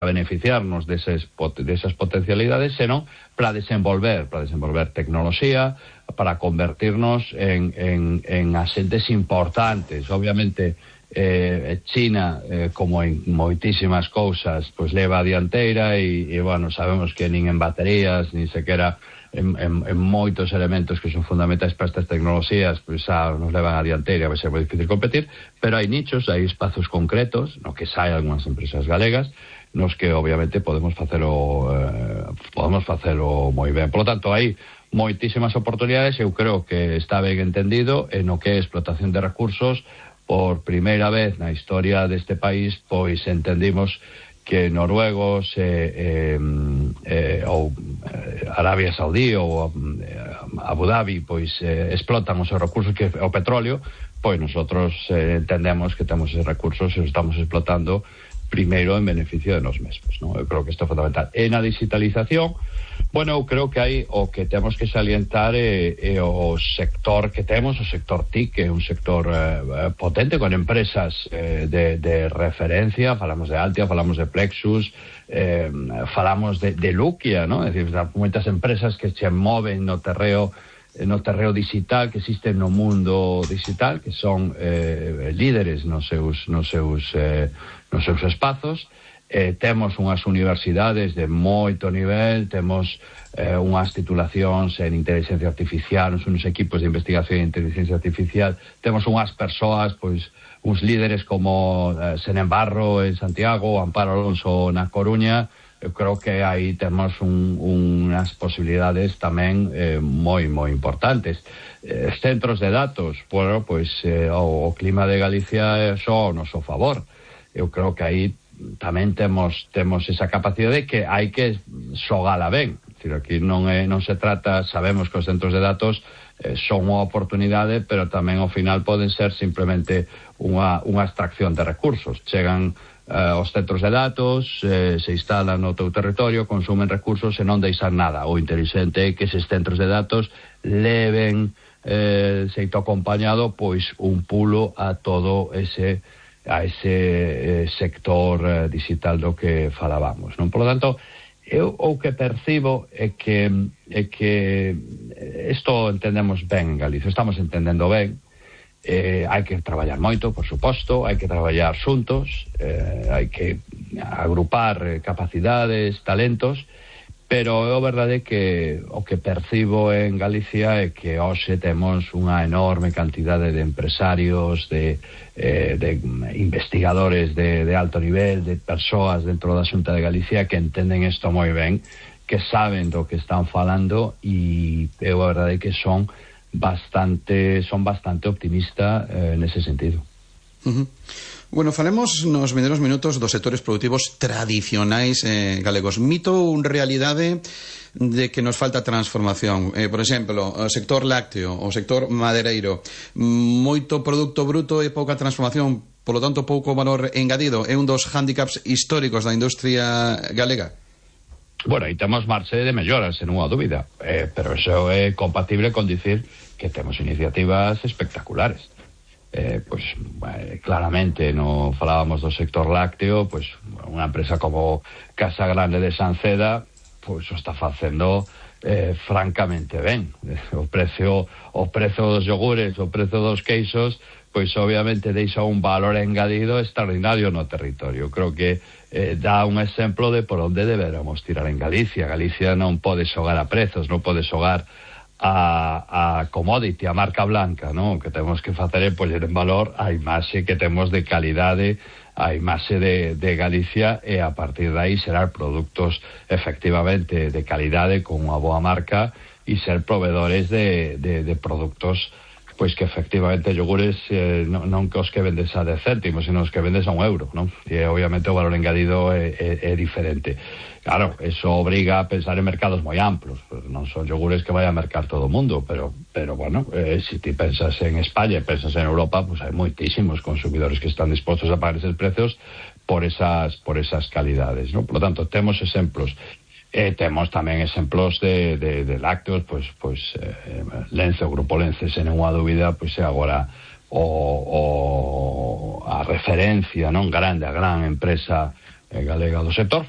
beneficiarnos desas potencialidades, senón para desenvolver tecnoloxía, para convertirnos en asentes importantes. Obviamente, China, como en moitísimas cousas, pois leva a dianteira e bueno, sabemos que nin en baterías, nin sequera en moitos elementos que son fundamentais para estas tecnoloxías, pois xa nos levan a dianteira, vai ser moi difícil competir, pero hai nichos, hai espazos concretos no que saen algunhas empresas galegas nos que obviamente podemos facelo moi ben. Por lo tanto, hai moitísimas oportunidades. Eu creo que está ben entendido en o que é explotación de recursos. Por primeira vez na historia deste país, pois entendimos que noruegos ou Arabia Saudí ou Abu Dhabi pois explotan os seus recursos, que o petróleo, pois nosotros entendemos que temos esos recursos e os estamos explotando primeiro en beneficio de nos mesmos, ¿no? Eu creo que isto é fundamental. E na digitalización, bueno, eu creo que hai o que temos que salientar é o sector que temos, o sector TIC, que é un sector potente, con empresas de referencia. Falamos de Altia, falamos de Plexus, falamos de Lukia, ¿no? É dicir, moitas empresas que se moven no terreo digital, que existen no mundo digital, que son líderes nos seus espazos. Temos unhas universidades de moito nivel, temos unhas titulacións en inteligencia artificial, uns equipos de investigación en inteligencia artificial, temos unhas persoas, pois, uns líderes como Senen Barro en Santiago, Amparo Alonso na Coruña. Eu creo que aí temos unhas posibilidades tamén moi importantes. Centros de datos, bueno, pois o clima de Galicia é só ao noso favor. Eu creo que aí tamén temos esa capacidade que hai que xogala ben. É dicir, aquí non se trata, sabemos que os centros de datos son unha oportunidade, pero tamén ao final poden ser simplemente unha extracción de recursos. Chegan os centros de datos, se instalan no teu territorio, consumen recursos e non deixan nada. O inteligente é que eses centros de datos leven xeito acompañado pois un pulo a todo ese sector digital do que falábamos, non? Por lo tanto, eu o que percibo é que isto entendemos ben en Galicia, estamos entendendo ben. Hai que traballar moito, por suposto, hai que traballar xuntos, hai que agrupar capacidades, talentos, pero é verdade que o que percibo en Galicia é que hoxe temos unha enorme cantidade de empresarios, de investigadores de alto nivel, de persoas dentro da Xunta de Galicia que entenden isto moi ben, que saben do que están falando, e é verdade que son bastante optimista nese sentido. Bueno, falemos nos vindeiros minutos dos sectores produtivos tradicionais galegos. Mito ou realidade de que nos falta transformación? Por exemplo, o sector lácteo, o sector madereiro, moito produto bruto e pouca transformación, polo tanto pouco valor engadido. É un dos hándicaps históricos da industria galega? Bueno, aí temos marxe de melloras, sen unha dúbida, pero eso é compatible con dicir que temos iniciativas espectaculares. Pois claramente no falábamos do sector lácteo, pois unha empresa como Casa Grande de Sanceda pois o está facendo francamente ben. O prezo dos yogures, o prezo dos queixos, pois obviamente deixa un valor engadido extraordinario no territorio. Creo que dá un exemplo de por onde deberamos tirar en Galicia. Galicia non pode xogar a prezos, non pode xogar a commodity, a marca blanca, non? O que temos que facer é poñer en valor a imaxe que temos de calidade, a imaxe de Galicia, e a partir de aí xerar produtos efectivamente de calidade con unha boa marca e ser proveedores de produtos pois que efectivamente yogures non que os que vendes a 10 céntimos, sino os que vendes a €1, non? E obviamente o valor engadido é diferente. Claro, eso obriga a pensar en mercados moi amplos, pues non son yogures que vai a mercar todo o mundo, pero bueno, se ti pensas en España e pensas en Europa, pues hai moitísimos consumidores que están dispostos a pagar esos precios por esas calidades, ¿no? Por lo tanto, temos exemplos. Temos tamén exemplos de lácteos, pois Lence, o Grupo Lence, sen unha dúbida, pois é agora a referencia non grande, a gran empresa galega do sector.